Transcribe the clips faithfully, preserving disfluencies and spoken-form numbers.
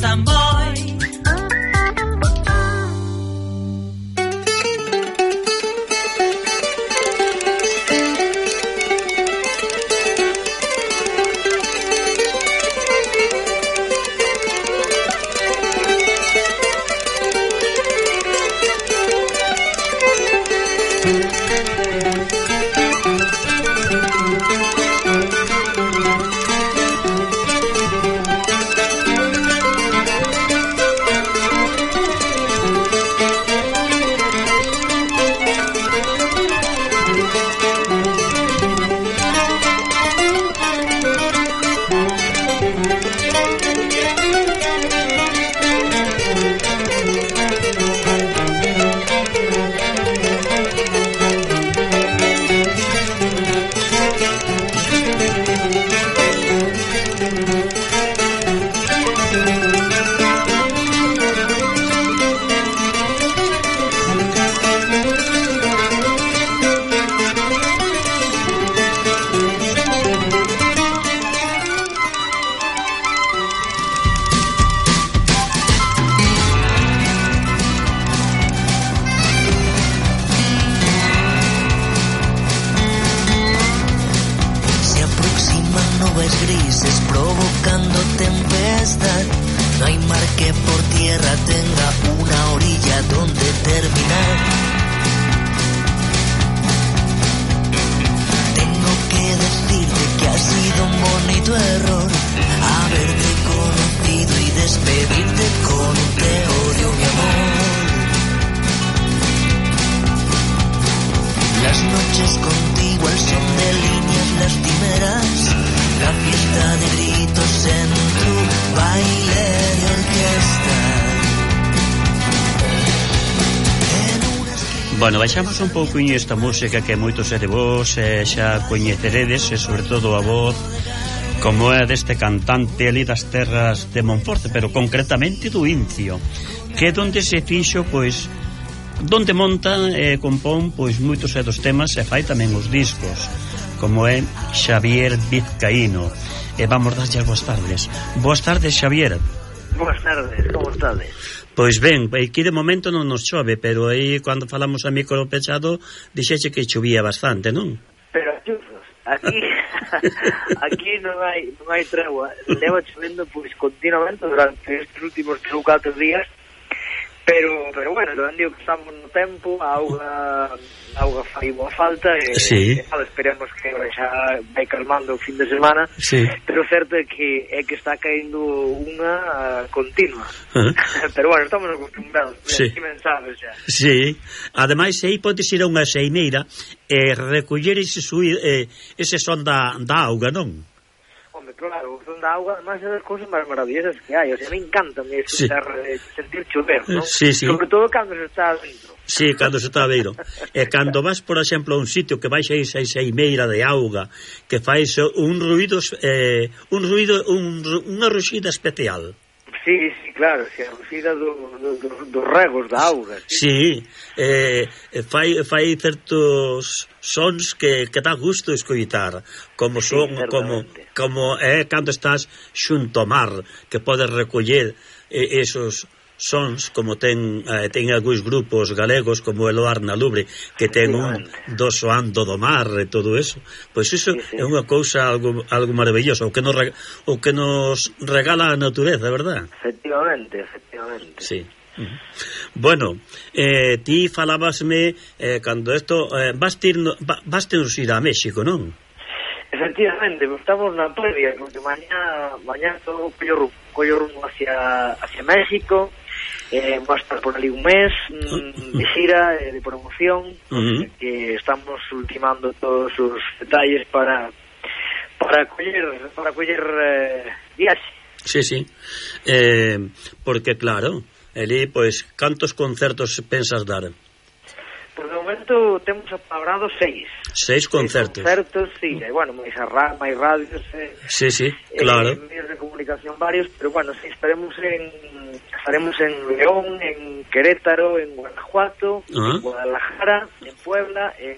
gustan moi. Bueno, baixamos un pouquinho esta música que moitos de vos eh, xa coñeceredes, e sobre todo a voz como é deste cantante ali das terras de Monforte, pero concretamente do Incio, que é donde se fixo, pois, donde monta e eh, compón, pois, moitos dos temas e fai tamén os discos, como é Xavier Vizcaíno. E vamos darlle as boas tardes. Boas tardes, Xavier. Boas tardes, como estades? Pois ben, aquí de momento non nos chove, pero aí cando falamos a micro pechado dixeche que chovía bastante, non? Pero chufos, aquí aquí non hai non hai tregua, leva chovendo pois continuamente durante estes últimos tres ou catro días, pero pero bueno, non digo que estamos no tempo, a auga a auga fai boa falta e, sí. e esperemos que xa vai calmando o fin de semana, sí. Pero certo é que é que está caendo unha uh, continua, uh-huh. Pero bueno, estamos acostumbrados, sí. Que mensajes xa. Sí, ademais aí podes ir a unha xeimeira e recoller ese, suí, eh, ese son da, da auga, non? Hombre, claro, o son da auga, además é das cousas máis maravillosas que hai, o sea, me encanta me escuchar, sí. Sentir chover, non? Sí, sí. Sobre todo cando se está dentro. Sí, cando se está a ver. E cando vas, por exemplo, a un sitio que vais a esa xeimeira de auga, que fais un ruido, eh, un ruido, un, unha ruxida especial. Sí, sí, claro, si a ruxida do, do, do, dos regos da auga. Sí, sí eh, fai, fai certos sons que, que dá gusto escoitar, como son, sí, como, como é eh, cando estás xunto ao mar, que podes recoller eh, esos sons, como ten eh, ten algúns grupos galegos como el Oar na Lubre, que ten un do soando do mar e todo eso, pois iso sí, sí. É unha cousa algo, algo maravilloso, o que nos o que nos regala a natureza, verdad? Efectivamente, efectivamente. Sí. Uh-huh. Bueno, eh, ti falábasme eh, cando isto eh, vas tir no, vas ter ir a México, non? Efectivamente, estamos na previa, porque mañá mañá todo collo, collo rumbo hacia, hacia México. Eh, va a estar por ali un mes mm, de gira, eh, de promoción, uh-huh. Que estamos ultimando todos os detalles para para coller para coller eh, viaxe. Sí, sí. Eh, porque claro, ali pois cantos concertos pensas dar? Por de momento temos apalabrados seis. Seis concertos. Seis concertos, sí, e bueno, máis ra máis radios, eh, sí, sí, claro. Eh, medios de comunicación varios, pero bueno, sí, estaremos en estaremos en León, en Querétaro, en Guanajuato, uh-huh. En Guadalajara, en Puebla, en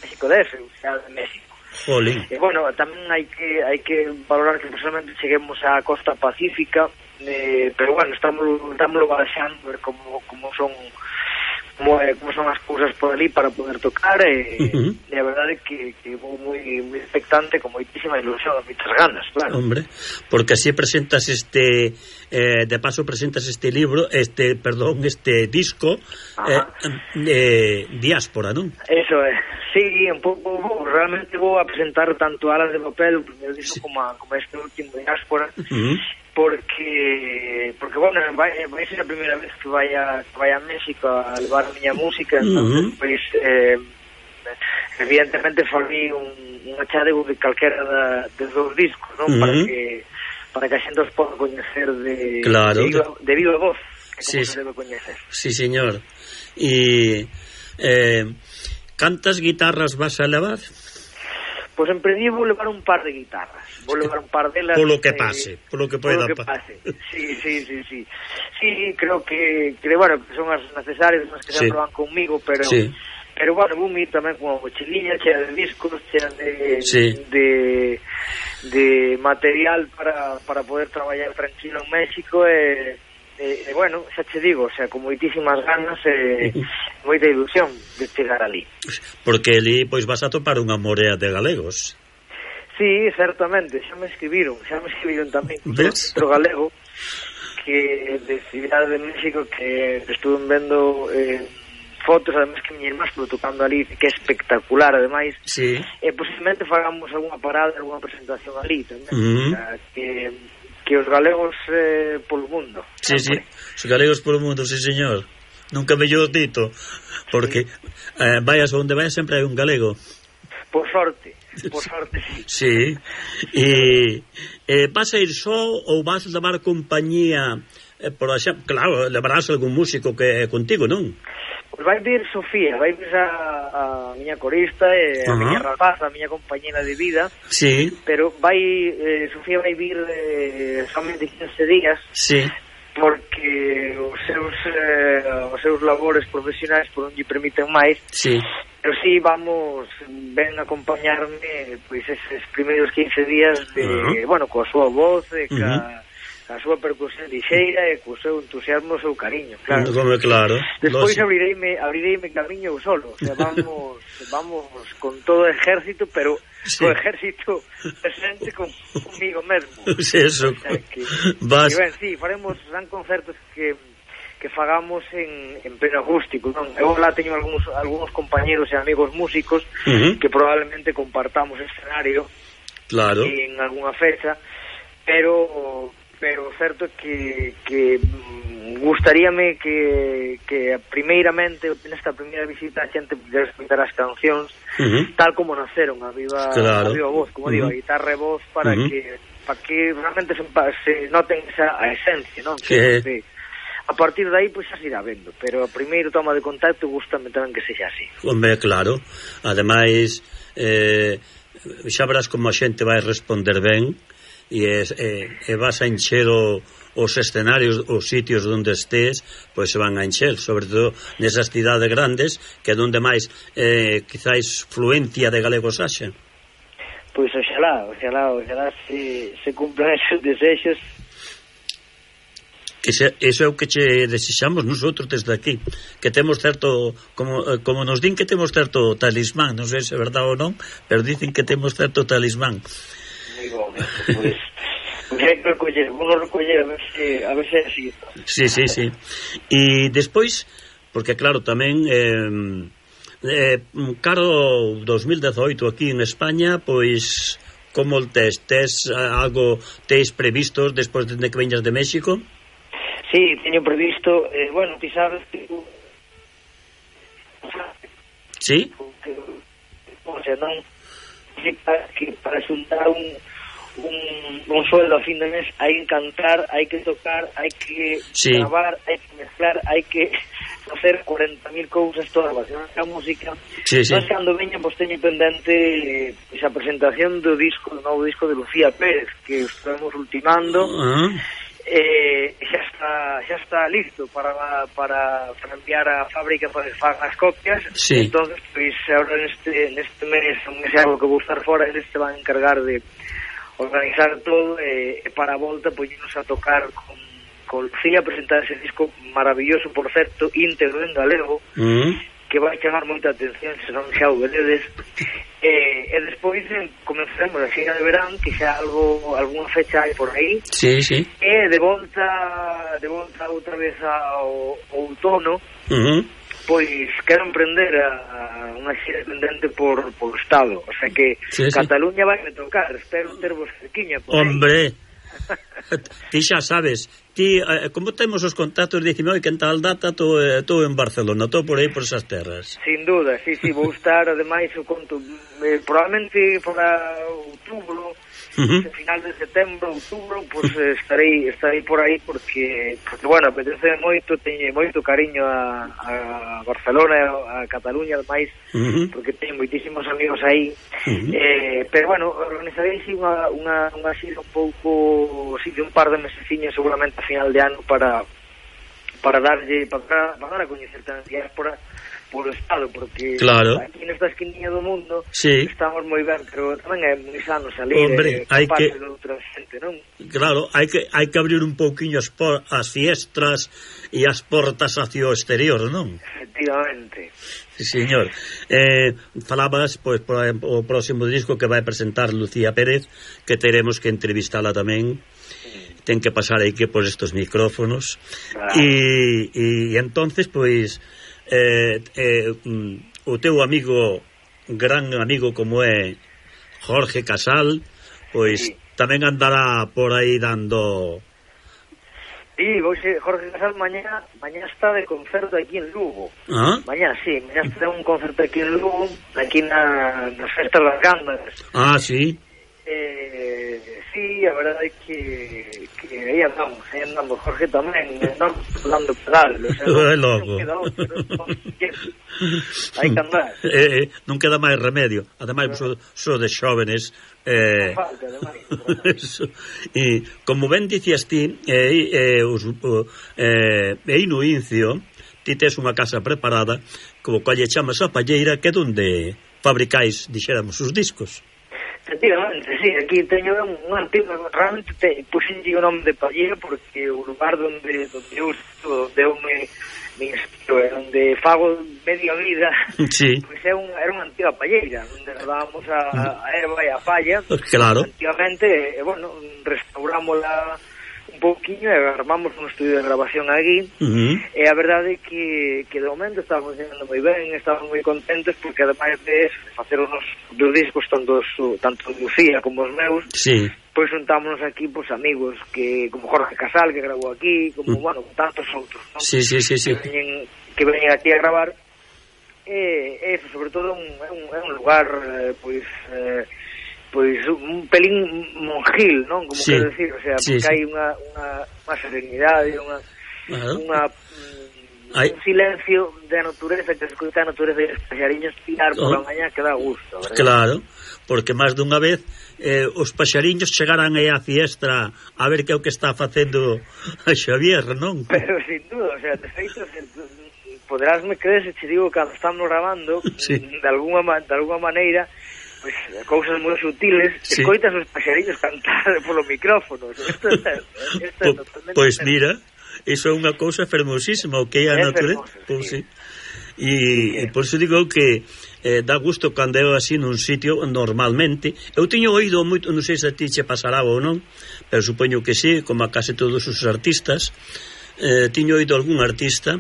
México D F, o sea, en México. Jolín. E bueno, tamén hai que hai que valorar que personalmente cheguemos á costa pacífica, eh, pero bueno, estamos estamos barexando ver como, como son como, eh, como son as cousas por ali para poder tocar e, uh-huh. e a verdade é que, que vou moi, moi expectante, con moitísima ilusión e moitas ganas, claro. Hombre, porque así presentas este eh, de paso presentas este libro, este, perdón, este disco eh, eh, Diáspora, non? Eso é, sí, un pouco vou, realmente vou a presentar tanto Alas de Papel, o primeiro disco, sí. como, a, como este último Diáspora, uh-huh. porque porque bueno, vai, vai ser a primeira vez que vai a, que vai a México a levar a miña música, uh-huh. entón, pois eh, evidentemente farei un, un achadego de calquera da, de dos discos, non? Uh-huh. Para que para que a xente os poda coñecer de, claro. de, viva, de viva voz, que sí, como se debe coñecer. Sí, señor. E eh, cantas guitarras vas a levar? Pois en principio vou levar un par de guitarras. Vou levar un par delas... Polo que pase, eh, polo que poida polo que pase. Sí, sí, sí, sí. Sí, creo que, que bueno, que son as necesarias, as que sí. se van conmigo, pero... Sí. Pero, bueno, vou ir tamén con a mochililla chea de discos, chea de... Sí. de de material para, para poder traballar tranquilo en México e... E, e bueno, xa che digo, o sea, con moitísimas ganas e moita ilusión de chegar ali. Porque ali, pois, vas a topar unha morea de galegos. Sí, certamente, xa me escribiron, xa me escribiron tamén outro galego que de Cidade de México que estuve vendo eh, fotos, además que mi irmán estuvo tocando ali, que é espectacular, ademais, sí. e posiblemente fagamos algunha parada, algunha presentación ali tamén, uh-huh. o sea, que que os galegos eh, polo mundo. Sí, sí, os galegos polo mundo, sí, señor. Nunca mellor dito, porque sí. eh, vayas onde vayas sempre hai un galego. Por sorte, por sorte, sí. Sí, e eh, vas a ir só ou vas a levar compañía, eh, por exemplo, claro, levarás algún músico que é contigo, non? Pois vai vir Sofía, vai vir a, a miña corista e a uh-huh. miña rapaza, a miña compañera de vida. Sí. Pero vai eh, Sofía vai vir eh, somente quince días. Sí. Porque os seus eh, os seus labores profesionais por non lle permiten máis. Sí. Pero sí, vamos, ven a acompañarme pois eses primeiros quince días de, uh-huh. bueno, coa súa voz e ca uh-huh. a súa percusión lixeira e co seu entusiasmo, o seu cariño, claro. Como claro. Despois abrireime, abrireime camiño eu solo, o sea, vamos, vamos con todo o ejército, pero sí. co ejército presente con, conmigo mesmo. Sí, eso. O sea, que, vas... que ben, sí, faremos, serán concertos que que fagamos en, en pleno acústico, non? Eu lá teño algúns, algúns compañeros e amigos músicos uh-huh. que probablemente compartamos escenario claro. en algunha fecha, pero pero certo que, que gustaríame que, que primeiramente nesta primeira visita a xente pudera escutar as cancións uh-huh. tal como naceron a viva, claro. a viva voz, como uh-huh. digo, a guitarra e voz para uh-huh. que para que realmente se, se noten esa a esencia, non? Que... Que, a partir de aí pois pues, xa se irá vendo, pero a primeiro toma de contacto gustame tamén que sexa así. Hombre, claro, ademais eh, xa verás como a xente vai responder ben e, e, e vas a encher o, os escenarios, os sitios onde estés, pois se van a encher, sobre todo nesas cidades grandes que é onde máis eh, quizáis fluencia de galegos haxa. Pois oxalá, oxalá, oxalá se, se cumplan esos desexos. Ese, eso é o que che desexamos nosotros desde aquí, que temos certo, como, como nos din que temos certo talismán, non sei se é verdade ou non, pero dicen que temos certo talismán. Moi bom, pois pues, hai que recoller, vamos recoller a ver se a ver se así. Sí, sí, sí. E despois, porque claro, tamén eh, eh, caro dos mil dezoito aquí en España, pois como el tes, tes algo tes previstos despois de que veñas de México? Sí, teño previsto, eh, bueno, ti sabes que sí? O sea, non que para xuntar un un, un sueldo a fin de mes hai que cantar, hai que tocar, hai que sí. gravar, hai que mezclar, hai que facer cuarenta mil cousas todas relacionadas a música. Sí, sí. Mas cando veña, pois teño pendente pois, a presentación do disco, do novo disco de Lucía Pérez, que estamos ultimando. Uh-huh. Eh, xa está xa está listo para para, para enviar a fábrica para que fagan as copias. Sí. Entonces, pois agora neste neste mes, un mes algo que vou estar fora, eles te van a encargar de organizar todo e, e para a volta poñernos a tocar con con Lucía presentar ese disco maravilloso, por certo, íntegro en galego, uh-huh. que vai chamar moita atención, se non xa o vededes. E, e despois eh, comenzaremos a xira de verán, que xa algo, alguna fecha hai por aí. Sí, sí. E de volta, de volta outra vez ao, ao outono, uh-huh. pois quero emprender a, a unha xira pendente por, por Estado. O sea que sí, Cataluña sí. vai me tocar, espero tervos cerquiña por Hombre, ti xa sabes, ti, eh, como temos os contactos, dicime, oi, que en tal data estou eh, en Barcelona, estou por aí por esas terras. Sin duda, sí, sí, vou estar, ademais, o conto, eh, probablemente para outubro, uh-huh. final de setembro, outubro, pues eh, estarei estarei por aí porque, porque bueno, apetece moito, teño moito cariño a, a Barcelona, a Cataluña, ademais, uh-huh. porque teño moitísimos amigos aí, uh-huh. eh, pero bueno, organizarei sí, unha, unha, unha xira un pouco, sí, de un par de meseciños seguramente a final de ano para para darlle, para, para dar a coñecer tamén diáspora polo Estado, porque claro. aquí nesta esquinilla do mundo sí. estamos moi ben, pero tamén é moi sano salir. Hombre, eh, hai que de outra xente, non? Claro, hai que hai que abrir un pouquiño as, por, as fiestras e as portas hacia o exterior, non? Efectivamente. Sí, señor. Eh, falabas, pois, por o próximo disco que vai presentar Lucía Pérez, que teremos que entrevistala tamén. Sí. Ten que pasar aí que por estos micrófonos. Claro. E, e entonces, pois, eh, eh, o teu amigo, gran amigo como é Jorge Casal, pois sí. tamén andará por aí dando... Sí, vou ser Jorge Casal mañá, mañá está de concerto aquí en Lugo. ¿Ah? Mañá, sí, mañá está un concerto aquí en Lugo, aquí na, nas festas das Gandas. Ah, sí. Eh, sí, a verdade é que, que aí andamos, aí andamos, Jorge tamén, andamos dando pedal, o sea, non, non queda outro, non, hai que andar. Eh, eh, non queda máis remedio, ademais, so, so de xóvenes, eh, non falta, ademais. E, como ben dicías ti, eh, eh, os, eh, aí no Incio, ti tes unha casa preparada, como colle chamas a palleira, que é onde fabricáis, dixéramos, os discos. Efectivamente, sí, aquí teño un, un antigo, realmente te, puxenlle o nome de palleira porque o lugar donde, donde eu estou, onde eu me, me inspiro, onde fago media vida, sí. Pues é un, era unha antiga palleira, onde dábamos a, a erva e a palla, claro. Antigamente, e, bueno, restaurámola un pouquiño e armamos un estudio de grabación aquí, uh-huh. E a verdade é que, que de momento estábamos funcionando moi ben, estábamos moi contentos porque ademais de facer os dos discos tanto, tanto Lucía como os meus, sí. Pois juntámonos aquí pois amigos que como Jorge Casal que grabou aquí, como uh-huh. bueno, tantos outros, ¿no? Sí, sí, sí, sí. Que veñen, que veñen aquí a gravar e, e sobre todo un, é un, é un lugar eh, pois eh, pois un pelín monjil, non? Como sí. Quero decir, o sea, porque sí, sí. Hai unha, unha, unha serenidade, unha, claro. unha un silencio de natureza, que escoita a natureza e os paxariños tirar oh. por a mañá que dá gusto, verdad? Claro, porque máis dunha vez eh, os paxariños chegaran aí á fiestra a ver que é o que está facendo a Xavier, non? Pero sin duda, o sea, de feito, poderásme creer se che digo que estamos grabando sí. de, alguma, de alguma maneira pues, cousas moi sutiles, sí. Escoitas os paxariños cantar polo micrófono. Isto é, isto é totalmente... Pois mira, iso é unha cousa fermosísima, o que é a natureza. Pois sí. E, e por iso digo que eh, dá gusto cando é así nun sitio normalmente. Eu teño oído moito, non sei se a ti che pasará ou non, pero supoño que sí, como a case todos os artistas, eh, teño oído algún artista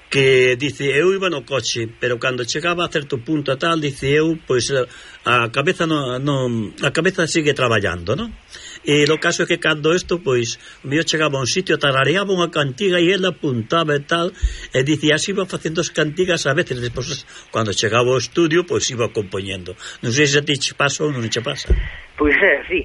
que dice, eu iba no coche, pero cando chegaba a certo punto a tal, dice eu, pois a cabeza no, no, a cabeza sigue traballando, non? E o caso é que cando isto, pois, o mío chegaba a un sitio, tarareaba unha cantiga e ele apuntaba e tal, e dicía, así iba facendo as cantigas a veces, despois, cando chegaba ao estudio, pois iba compoñendo. Non sei se a ti che pasa ou non che pasa. Pois é, sí.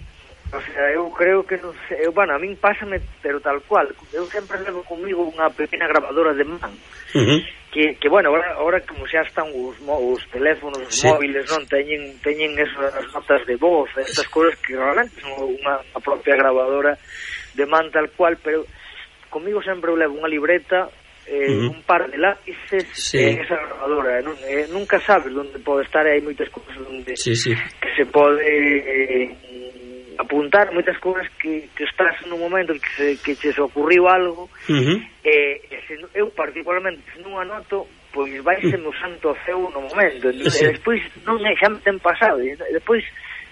O sea, eu creo que non sei, eu, bueno, a min pásame, pero tal cual. Eu sempre levo comigo unha pequena grabadora de man. Uh-huh. Que, que bueno, ahora, ahora como xa están os, os teléfonos, os sí. móviles, non teñen teñen esas notas de voz, estas cousas que realmente son unha a propia grabadora de man tal cual, pero comigo sempre eu levo unha libreta, eh, uh-huh. un par de lápices sí. en esa grabadora, non, eh, nunca sabes onde pode estar, hai moitas cousas onde sí, sí. que se pode eh, apuntar contar moitas cousas que, que estás nun momento que se, que che se ocurriu algo, uh-huh. e, e se, eu particularmente se non anoto, pois vaise no santo ceo no momento, e, sí. e despois non é, xa me ten pasado, e despois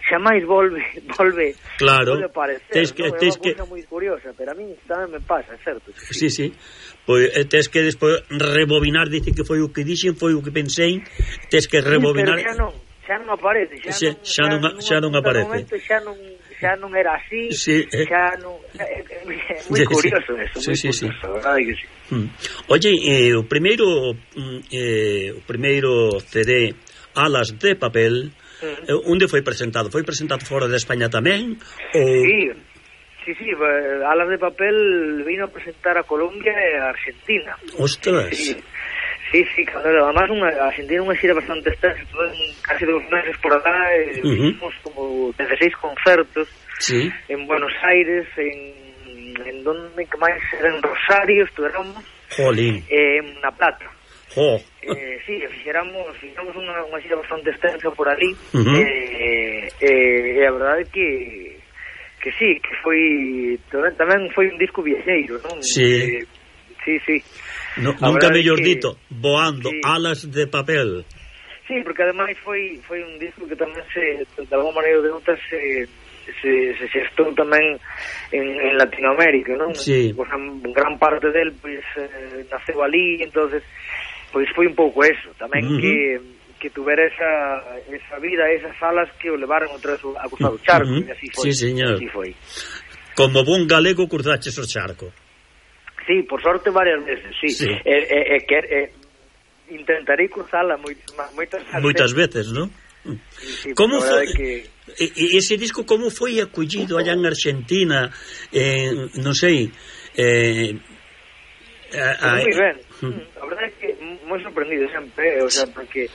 xa máis volve volve, claro. volve a aparecer, Tes que, non? tes É unha cousa moi curiosa, pero a mí tamén me pasa, certo? Sí, sí, pois tes que despois rebobinar, dice que foi o que dixen, foi o que pensei, tes que rebobinar. Sí, pero xa non, xa non aparece, xa, xa, non, xa, non, xa non aparece. Momento, xa non xa non era así, sí, eh. xa non... É, é, é moi curioso sí, eso, moi sí, curioso, sí. verdade que sí. Mm. Oye, eh, o primeiro eh, o primeiro C D Alas de Papel, mm. eh, onde foi presentado? Foi presentado fora de España tamén? Ou... Sí, sí, sí, Alas de Papel vino a presentar a Colombia e a Argentina. Ostras. Sí. Sí, sí, claro, además unha, a Argentina unha xira bastante extensa, estuve casi dos meses por acá, e uh-huh. hicimos como dieciséis concertos, sí. En Buenos Aires, en, en donde que máis era en Rosario, estuvéramos, Jolín. Eh, en La Plata. Oh. Eh, sí, fixéramos, fixéramos unha, unha xira bastante extensa por ali, uh-huh. eh, eh, e a verdade é que que sí, que foi tamén foi un disco viaxeiro, non? Sí. Eh, sí, sí. No, nunca mellor que, dito, voando, sí. Alas de Papel. Sí, porque ademais foi foi un disco que tamén se, de alguma maneira ou de outra se se, se xestou tamén en, en Latinoamérica, non? Sí. Pues, gran parte del pois pues, eh, naceu ali, entonces pois pues, foi un pouco eso, tamén uh-huh. que que tuvera esa, esa vida, esas alas que o levaron outra vez a cruzar o charco, uh-huh. e así foi. Sí, señor. Así foi. Como bon galego cruzaches o charco. Sí, por sorte varias veces, sí. sí. Eh, eh, eh, que, eh, intentarei cruzala moitas moitas moitas veces, non? Sí, sí, como foi que... e, ese disco como foi acollido allá en Argentina, eh, non sei, eh, a, a, moi ben. A verdade é que moi sorprendido sempre, o sea, porque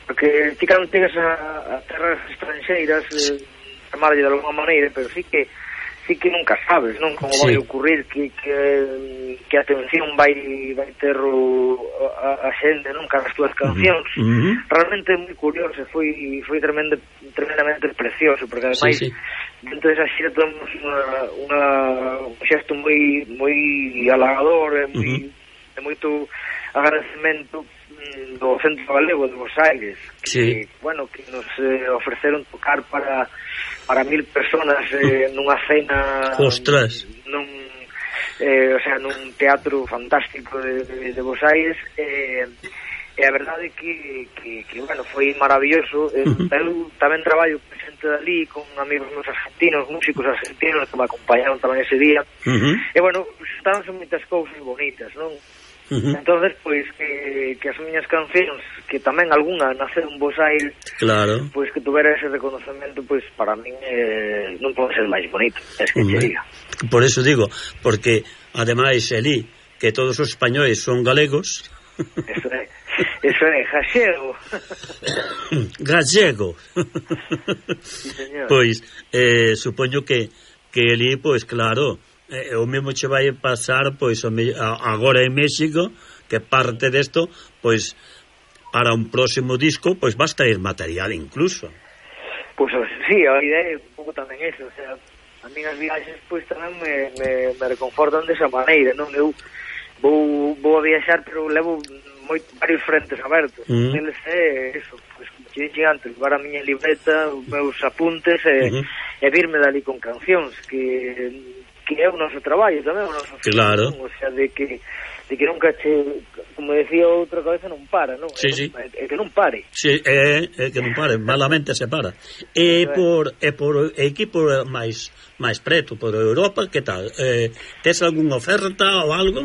porque ti cando chegas a, a terras estranxeiras, eh, chamarlle de alguma maneira, pero sí que sí que nunca sabes, non? Como sí. vai ocurrir que, que, que a atención vai, vai ter o, a, a xente, non? Cara as túas cancións. Uh-huh. Realmente é moi curioso, foi, foi tremendo, tremendamente precioso, porque ademais sí, sí. dentro desa xira temos unha, unha, un xesto moi moi halagador, e moi, uh-huh. de moito agradecemento do Centro Galego de Buenos Aires, que, sí. bueno, que nos eh, ofreceron tocar para para mil personas eh, nunha cena. Ostras. Nun, eh, o sea, nun teatro fantástico de, de, de Buenos Aires, eh, e a verdade é que, que, que, bueno, foi maravilloso. Eh, uh-huh. Eu tamén traballo presente dali con amigos meus argentinos, músicos argentinos que me acompañaron tamén ese día, uh-huh. e, bueno, estábanse moitas cousas bonitas, non? Uh-huh. Entonces, pois que, que as miñas cancións, que tamén algunha naceu en Buenos Aires, claro. Pois que tuvera ese reconocemento, pois para min eh, non pode ser máis bonito, es que uh-huh. che diga. Por eso digo, porque ademais elí que todos os españois son galegos. Eso é, eso é gallego. Gallego. Sí, señor. Pois eh, supoño que que elí, pois claro, eh, o mesmo che vai pasar pois agora en México, que parte desto, pois para un próximo disco, pois vas traer material incluso. Pois sí, a idea é un pouco tamén eso, o sea, a minhas viaxes pois tamén me, me, me reconfortan desa maneira, non? Eu vou, vou a viaxar, pero levo moito, varios frentes abertos. Mm. Eles é eso, pois como che dixen antes, levar a miña libreta, os meus apuntes e, mm-hmm. e virme dali con cancións, que que é o noso traballo tamén, o noso claro. Film, o sea, de que de que nunca che, como decía outra cabeza, non para, non? Sí, é, sí. É, é que non pare. Sí, é, é que non pare, malamente se para. E por e por equipo máis máis preto, por Europa, que tal? Eh, tes algunha oferta ou algo?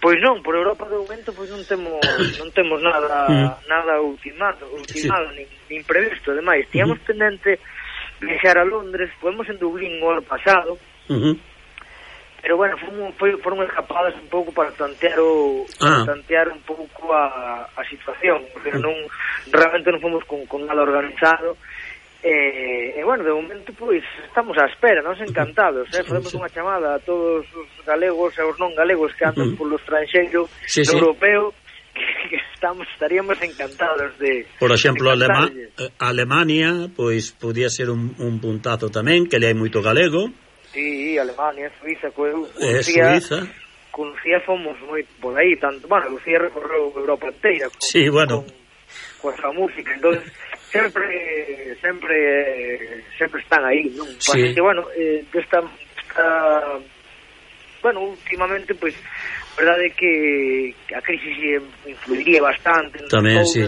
Pois non, por Europa de momento pois non temos non temos nada mm. nada ultimado, ultimado sí. nin, nin previsto, ademais, tíamos uh-huh. pendente viaxar a Londres, podemos en Dublín o ano pasado. Uh-huh. Pero bueno, fomos, foi, foron escapadas un pouco para tantear o ah. para tantear un pouco a, a situación, pero non realmente non fomos con, con nada organizado. E, e bueno, de momento pois estamos á espera, nos encantados, eh? Podemos unha chamada a todos os galegos e os non galegos que andan uh-huh. polo estranxeiro sí, sí. europeo, que, que estamos estaríamos encantados de... Por exemplo, Alema, Alemania, pois podía ser un, un puntazo tamén, que le hai moito galego. Sí, Alemania, Suiza, co, eh, Suiza. Con Lucía fomos moi por aí, tanto, bueno, Lucía recorreu Europa inteira con, sí, bueno. con, con a música, entonces sempre sempre sempre están aí, non? Sí. Que, bueno, eh, esta, esta bueno, últimamente, pois, pues, verdade que a crisis influiría bastante tamén, sí.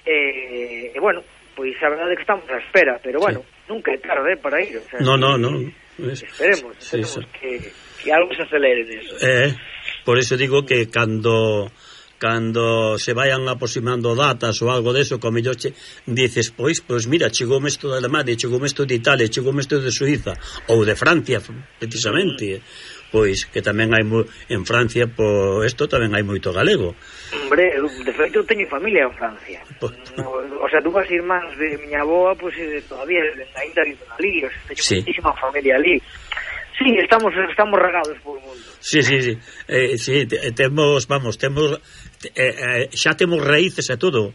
Eh, e, bueno, pois a verdade que estamos á espera, pero, bueno, sí. Nunca é tarde para ir, o sea, no, no, no. Esperemos, esperemos sí, que, que algo se acelere nisso. Eh, por eso digo que cando cando se vayan aproximando datas ou algo deso, como yo che dices, pois, pois mira, chegoume isto de Alemania, chegoume isto de Italia, chegoume isto de Suiza ou de Francia, precisamente. Mm. Pois que tamén hai mo... en Francia, por isto tamén hai moito galego. Hombre, de feito eu teño familia en Francia. Pues, no, o sea, dúas irmáns de miña aboa, pois pues, todavía ainda viven ali, o sea, teño sí. Muchísima familia ali. Sí, estamos estamos regados por o mundo. Sí, sí, sí. Eh, sí, temos, vamos, temos eh, eh, xa temos raíces e todo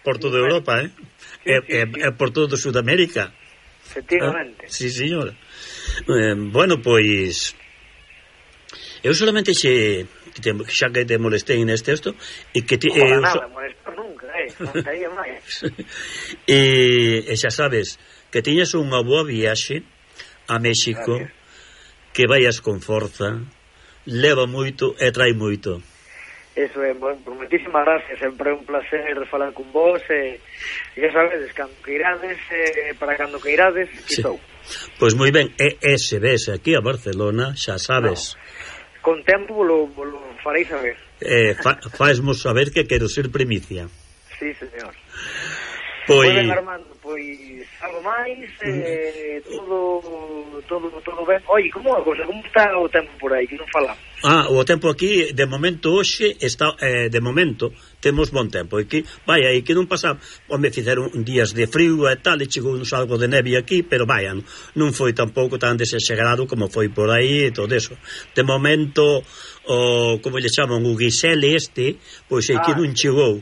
por toda sí, Europa, eh? Sí, eh, sí, eh, sí. eh por todo Sudamérica. Efectivamente. Ah, sí, señora. Eh, bueno, pois eu solamente xe te, xa que te molestei neste esto e que te, no, eh, nada, so... molesto nunca, eh, non estaría máis. e, e xa sabes que tiñas unha boa viaxe a México. Gracias. Que vayas con forza, leva moito e trai moito. Eso é, bueno, por moitísimas gracias, sempre é un placer falar con vos e, e xa sabedes, cando que irades eh, para cando que irades, que sí. Estou. Pois moi ben, e ese ves aquí a Barcelona, xa sabes. No. Con tempo lo, lo farei saber. Eh, fa, faesmos saber que quero ser primicia. Sí, señor. Pois... Moi ben, Armando, pois algo máis, eh, todo, todo, todo ben. Oye, como a cosa, como está o tempo por aí, que non falamos? Ah, o tempo aquí, de momento, hoxe, está, eh, de momento, temos bon tempo. E que, vai, aí que non pasa, home, fizeron días de frío e tal, e chegou uns algo de neve aquí, pero vai, non foi tampouco tan desexagerado como foi por aí e todo eso. De momento, o, como lle chaman, o guisele este, pois aí ah, que non chegou.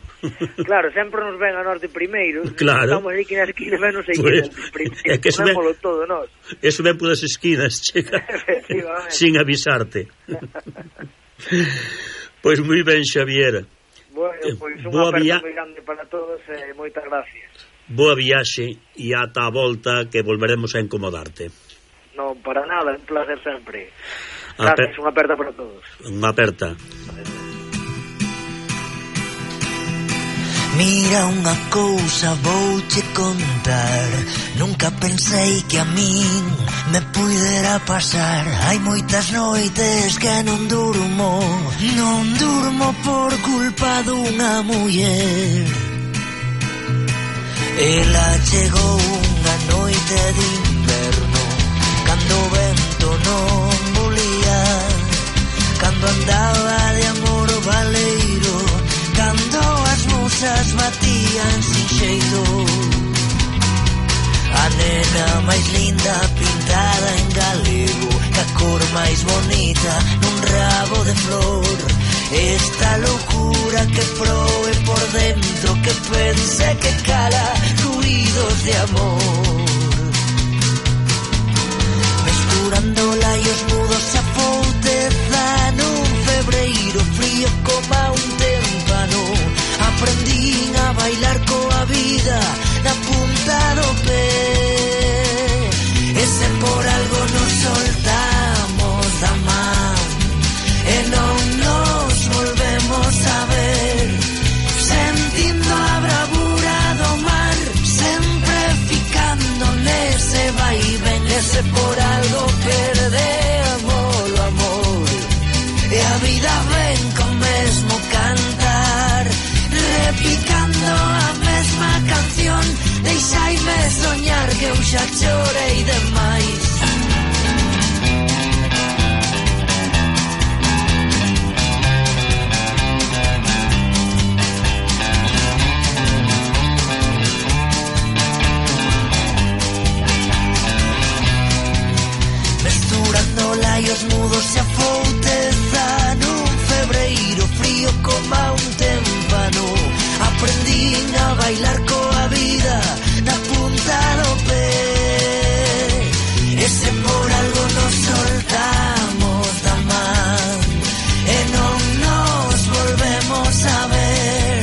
Claro, sempre nos ven a norte primeiro. Claro. Estamos aí que na esquina menos aí pues, que é que eso ven, todo, nós. Eso ven por as esquinas, chega, sin avisarte. Pois moi ben, Xavier. Bueno, pois unha aperta via... moi grande para todos e eh, moitas gracias. Boa viaxe e ata a volta que volveremos a incomodarte. Non, para nada, un placer sempre. Gracias, Aper... unha aperta para todos. Unha aperta. Mira unha cousa vouche contar, nunca pensei que a min me puidera pasar. Hai moitas noites que non durmo, non durmo por culpa dunha muller. Ela chegou unha noite de inverno, cando o vento non volía, cando andaba de amor valeiro, cando as musas batían sin xeito. A nena máis linda pintada en galego, ca cor máis bonita nun rabo de flor. Esta loucura que proe por dentro, que pense que cala ruidos de amor. Mesturando laios mudos a fouteza nun febreiro frío como un témpano. Aprendín a bailar coa vida na punta do pé, e se por algo nos soltamos da man e non nos volvemos a ver, sentindo a bravura do mar, sempre ficando nese vai e ven, e se por algo perdemos o amor e a vida ven con mesmo cantar, repicando a mesma canción, deixaime soñar que eu xa chorei demais. Mesturando laios mudos e a fouteza nun febreiro frío como un tempo. témpano. Aprendín a bailar coa vida na punta do pé, e se por algo nos soltamos da man e non nos volvemos a ver,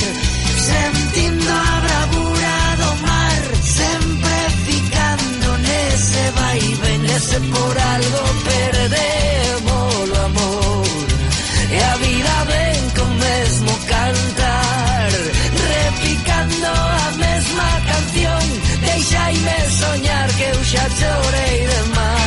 sentindo a bravura do mar, sempre ficando nese vai ben, e se por algo perdemos o amor e a vida ven con mesmo cantar, repicando a mesma canción, deixaime soñar que eu xa chorei demais.